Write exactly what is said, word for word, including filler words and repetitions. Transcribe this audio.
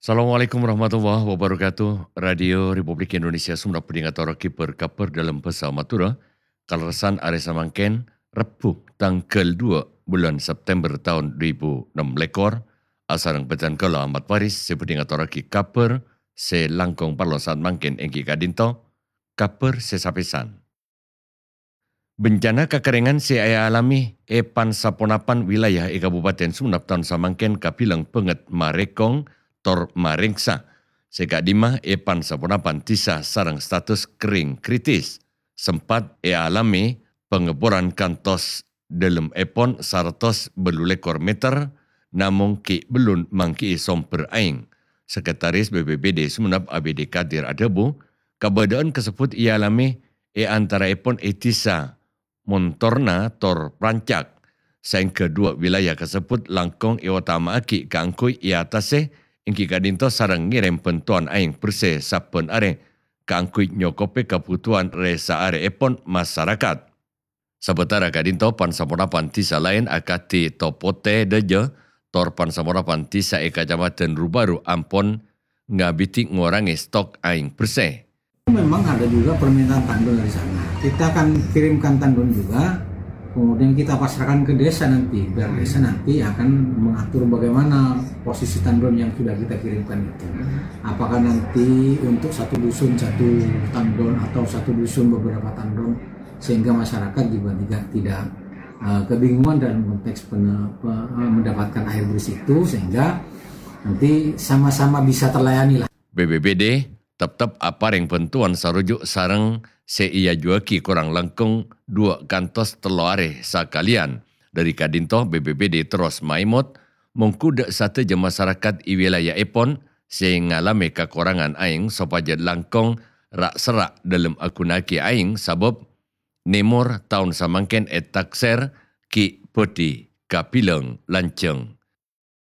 Assalamualaikum warahmatullahi wabarakatuh. Radio Republik Indonesia Songennep bhâdhi ngatorraghi bâr-kabhâr dâlem bhâsa Madhurâ, kalerressan arè samangkèn, Rebbhu, tangghâl duwâ' bulân September taon du èbu ennem lèkor, asareng bhâdhân kaulâ Ahmad Faris sè bhâdhi ngatorraghi kabhâr sè langkong parlo saat mangkèn èngghi ka'dinto, kabhâr sè sapèsan. Bencana kakerrèngan sè èalamè è pan-saponapan wilayah è Kabupaten Songennep taon samangkèn kabilang bângèt marèkong tor marèngsa. Sè ka'dimma è pan-saponapan dhisa sareng status kerrèng kritis. Sempat èalamè pangèboran kantos dâlemmèpon saratos bâllu lèkor meter, namong ghi' bellun mangghi'i sombher aèng. Sekretaris B P B D Songennep A B D Kadir adhâbu, kabâdâ'ân kasebbhut èalamè è antaraèpon è dhisa Montorna tor Prancak, saèngghâ duwâ' wilayah kasebbhut langkong èotama'aghi kaangghuy èatasè, èngghi ka'dinto sareng ngèrèm bhântowan aèng bersè sabbhân arè kaangghuy nyokobhi kabhutowan rè-saarèèpon masarakat. Sabâtara ka'dinto pan-saponapan dhisa laèn akadhi Topotè Dâjâ tor pan-saponapan dhisa è Kacamadhân Rubaru ampon ngabidhi ngorangè stok aèng bersè. Memang ada juga permintaan tandon dari sana. Kita akan kirimkan tandon juga, kemudian kita pasrahkan ke desa nanti, biar desa nanti akan mengatur bagaimana posisi tandon yang sudah kita kirimkan itu. Apakah nanti untuk satu dusun satu tandon atau satu dusun beberapa tandon, sehingga masyarakat juga tidak, tidak, eh, kebingungan dalam konteks pene-, pe-, eh, mendapatkan air bersih itu, sehingga nanti sama-sama bisa terlayani lah. B P B D teptep aparèng bhântowan saruju' sareng sè èajuwâghi korang langkong duwâ' kantos tello arè sakalèyan. Dâri ka'dinto B P B D terros maèmot, mongghu dâ' sadhâjâ masarakat è wilayaèpon sè ngalamè kakorangan aèng sopajâ langkong ra'-serra' dâlem aghunaaghi aèng, sabâb nèmor taon samangkèn ètaksèr ghi' bhâdhi kabilang lanjhâng.